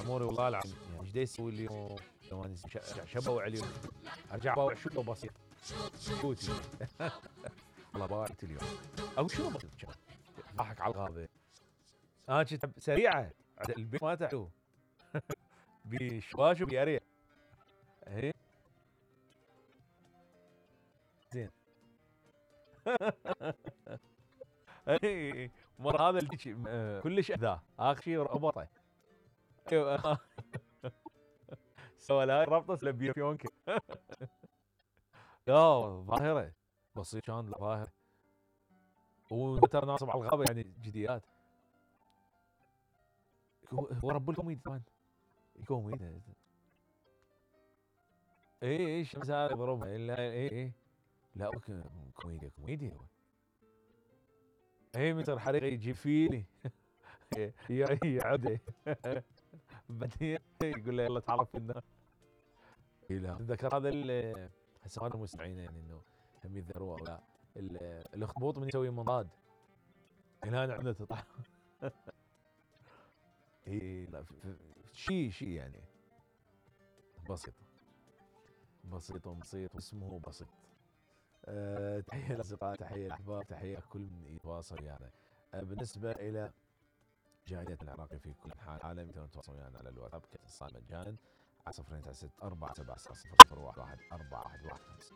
اموري والله العظيم يعني ايش دا يسوي اليوم؟ لو اني شبوع اليوم ارجع باوع شو بسيط كوتي. والله باعت اليوم او شنو بسيط كان ضحك على الغابه. كنت سريعه البيت ما تعلو بشواش وبيريح. ايه زين. اي مر هذا اللي كلش اذاه اخر شيء ربطه. ايوه سوى لا ربطه لبيه فيونكه. لا ظاهره بسيط كان ظاهره. وترى ناصب على الغابه يعني جديات. هو رب الكوميدي طبعا كوميدي. اي الشمس هذا يضربها اي لا كوميديا هو. اي متر حريقه يجيب فيني. يعده. بعدين يقول له يلا تعرف النار. لا ذكر هذا هسه هذا المستمعين يعني انه هم يذكروا او لا الاخطبوط من يسوي منضاد هنا عندنا تطلع. اي لا شيء يعني بسيط بسيط واسمه بسيط. تحيه للاصدقاء تحيه للاحباب تحيه كل من يتواصل يعني. بالنسبه الى جالية العراقي في كل انحاء العالم تقدرون تتواصلون ويانا على الواتساب كاتصال مجانا على 096 470 001 411 5.